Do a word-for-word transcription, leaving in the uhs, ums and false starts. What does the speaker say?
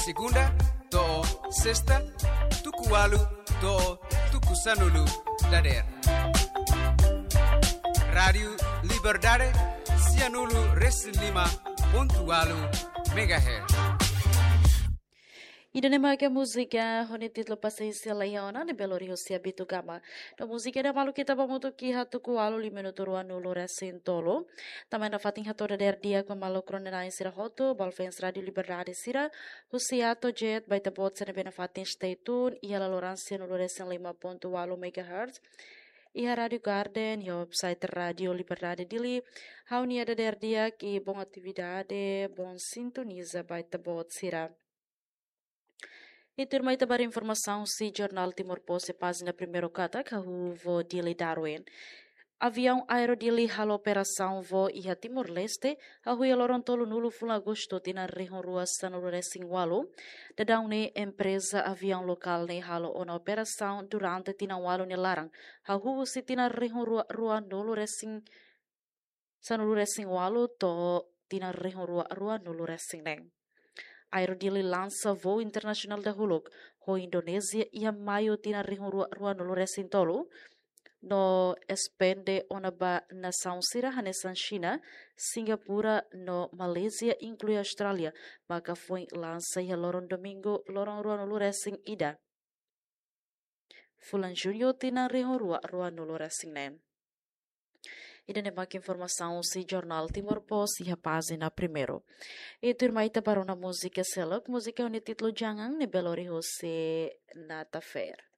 Segunda to'o sesta, tuku ualu to'o tuku sanulu dadeer. Rádiu Liberdade, sianulu resin lima pontu ualu megahertz. Ida-ne'e maka múzika ho nia títulu Pasiénsia Laiha Ona, ne'ebé lori husi Abito Gama. No múzika ida maluk ita ba hamutuk iha tuku ualu liu minutu ruanulu resin tolu. Tanba nafatin hato'o dadeer di'ak ba maluk rona-na'in sira hotu, balu fans Rádiu Liberdade sira, husi A to'o Z, ba ita-boot sira ne'ebé nafatin stay tune iha laloran sianulu resin lima pontu ualu megahertz, iha Rádiu Garden, iha website Rádiu Liberdade Dili. Ha'u-nia dadeer di'ak i bom atividade, bom sintoniza ba ita-boot sira. I tuirmai ita ba informasaun husi Jornál Timor Post iha pájina primeiru katak, hahú voo Dili Darwin. Aviaun Aero Dili halo operasaun voo iha Timor-Leste, hahú iha loron tolunulu fulan Agostu tinan rihun rua sanulu resin ualu. Daudaun ne'e empreza aviaun lokál ne'e halo ona operasaun durante tinan ualu nia laran, hahú husi tinan rihun rua ruanulu resin sanulu resin ualu to'o tinan rihun rua ruanulu resin neen. Aero Dili lansa voo internasionál dahuluk ho Indonézia iha maiu tinan rihun rua ruanulu resin tolu, no espande ona ba nasaun sira hanesan Xina, Singapura no Malázia, inklui Austrália, maka foin lansa iha loron domingu loron ruanulu resin ida fulan Juñu tinan rihun rua ruanulu resin neen. Ida-ne'e maka informasaun husi Jornál Timor Post iha pájina primeiru. I tuirmai ita ba rona múzika seluk, múzika ho nia títulu Jangan, ne'ebé lori husi Nata Fair.